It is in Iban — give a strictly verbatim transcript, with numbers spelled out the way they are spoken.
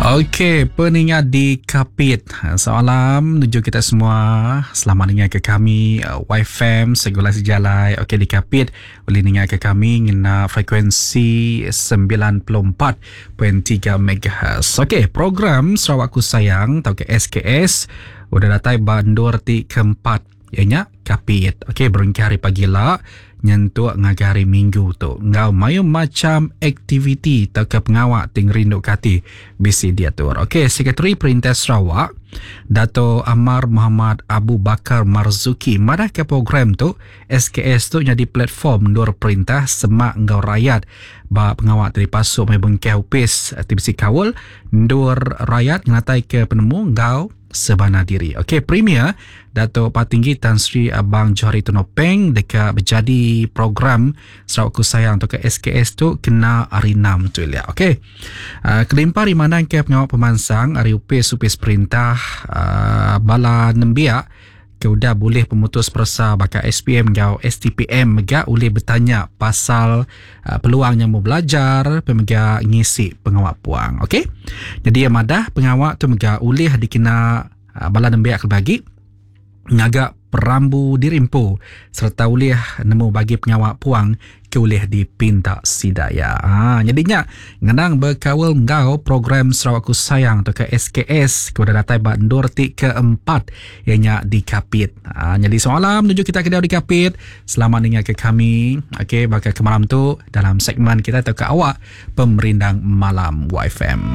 Okey, peninga di Kapit. Salam menuju kita semua. Selamat ninga ke kami Y F M Segulai Sejalai. Okey, di Kapit boleh ninga ke kami ngena frekuensi sembilan puluh empat perpuluhan tiga M H. Okey, program Sarawakku Sayang atau ke S K S udah datai bandur ti keempat ianya Kapit. Okey, berengkah hari pagi lah nyentuk ngagai hari Minggu tu. Ngau mayu macam aktiviti atau ke pengawak ting rindu kati bisi diatur. Okey, Sekretari Perintah Sarawak Dato Amar Muhammad Abu Bakar Marzuki madah ke program tu S K S tu jadi platform nur perintah semak ngau rakyat ba pengawak dari pasuk mai bengkau upis T B C Kawul nur rakyat ngatai ke penemu ngau sebana diri. Okey, Premier Dato' Patinggi Tan Sri Abang Johari Tun Openg dekat berjadi program Sarawakku Sayang atau ke S K S tu kena hari enam tu ya. Okey. Uh, kelimpah di mana ke pengawal pemansang hari upis upis perintah uh, bala nembiak ke udah boleh pemutus persa bakal S P M ngau S T P M mega boleh bertanya pasal uh, peluang yang mau belajar pemega ngisi pengawak puang. Okey, jadi yang madah pengawak tu mega ulih dikena uh, bala nembiak bagi ngagak perambu dirimpu serta ulih nemu bagi pengawak puang ke ulih dipinta sidaya. Ha, jadinya ngenang berkawal ngau program Sarawakku Sayang atau ke S K S kepada datai bandur ti keempat ianya di Kapit. Ha, jadi soalan menuju kita ke di Kapit. Selamat dengar ke kami. Okey, bakal ke malam tu dalam segmen kita atau ke awak Pemerindang Malam Y F M.